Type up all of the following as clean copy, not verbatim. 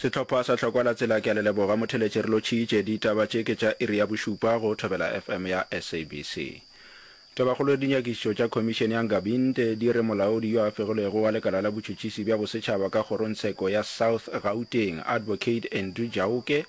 Sehlopha sa Tlhokwa la Tsela ke a le leboga motheletše re lotšhitše. Ditaba tše ke tša iri ya bošupa go Thobela FM ya SABC. Tabakgolo ya dinyakišišo tša Khomišene ya Nkabinde di re molaodi yo a fegilwego wa lekala la botšhotšhisi bja bosetšhaba ka kgorongtsheko ya South Gauteng, Advocate Andrew Jauke,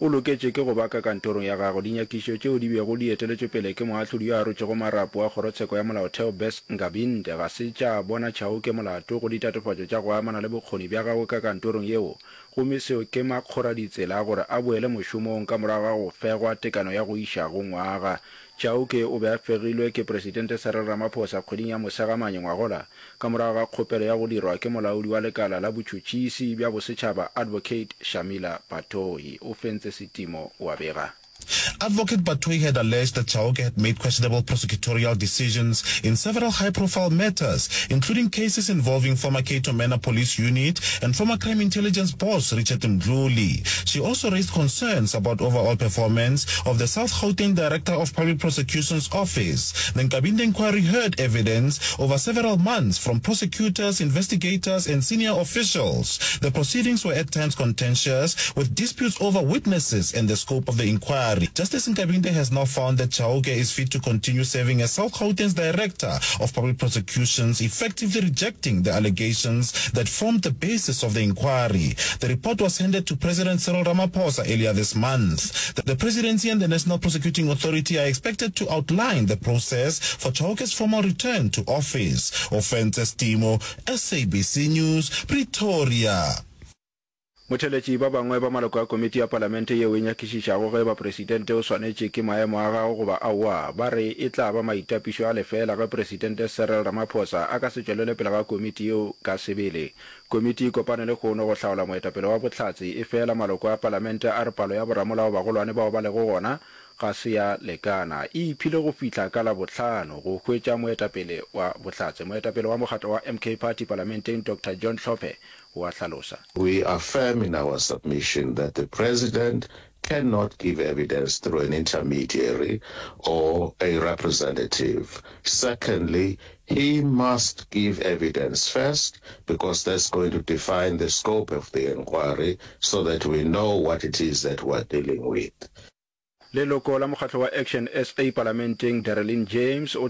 O loketše ke go ba ka kantorong ya gagwe. Dinyakišišo tšeo di bego di eteletšwe pele ke moahlodi yo a rotšego marapo wa Kgorotsheko ya Molaotheo Bess Nkabinde ga se tša bona Chauke molato go ditatofatšo tša go amana le bokgoni bja gagwe ka kantorong yeo gomme seo ke makgoraditsela a gore a boele mošomong ka morago ga go fegwa tekano ya go iša go ngwaga. Chauke o be a fegilwe ke Presidente Cyril Ramaphosa kgweding ya Mosegamanye ngwagola ka morago ga kgopelo ya go dirwa ke molaodi wa lekala la botšhotšhisi bja bosetšhaba Advocate Shamila Batohi. O fentse setimo wa bega. Advocate Batohi had alleged that Chauke had made questionable prosecutorial decisions in several high-profile matters, including cases involving former Cato Manor Police Unit and former crime intelligence boss Richard Mdluli. She also raised concerns about overall performance of the South Gauteng Director of Public Prosecutions Office. The Nkabinde inquiry heard evidence over several months from prosecutors, investigators and senior officials. The proceedings were at times contentious, with disputes over witnesses and the scope of the inquiry. Justice Nkabinde has now found that Chauke is fit to continue serving as South Gauteng's Director of Public Prosecutions, effectively rejecting the allegations that formed the basis of the inquiry. The report was handed to President Cyril Ramaphosa earlier this month. The presidency and the National Prosecuting Authority are expected to outline the process for Chauke's formal return to office. Ofentse Timo, SABC News, Pretoria. Motheeletši ba bangwe ba maloko a komiti ya palamente yeo e nyakišišago ge eba presidente o swanetše ke maemo a gagwe goba aowa, ba re e tla ba maitapišo a lefeela ge Presidente Cyril Ramaphosa a ka se tšwelele pele ga komiti yeo ka sebele. Komiti e kopane lehono go hlaola moetapele wa bohlatse, efela maloko a palamente a re palo ya boramolao bagolwane bao ba lego gona ga se ya lekana. E iphile go fihla ka Labohlano go hwetša moetapele wa bohlatse. Moetapele wa mokgatlo wa MK Party palamenteng Doctor John Hlophe o a hlalosa. We are firm in our submission that the President cannot give evidence through an intermediary or a representative. Secondly, he must give evidence first because that's going to define the scope of the inquiry so that we know what it is that we're dealing with. Leloko la mokgatlo wa Action SA palamenteng Dereleen James o.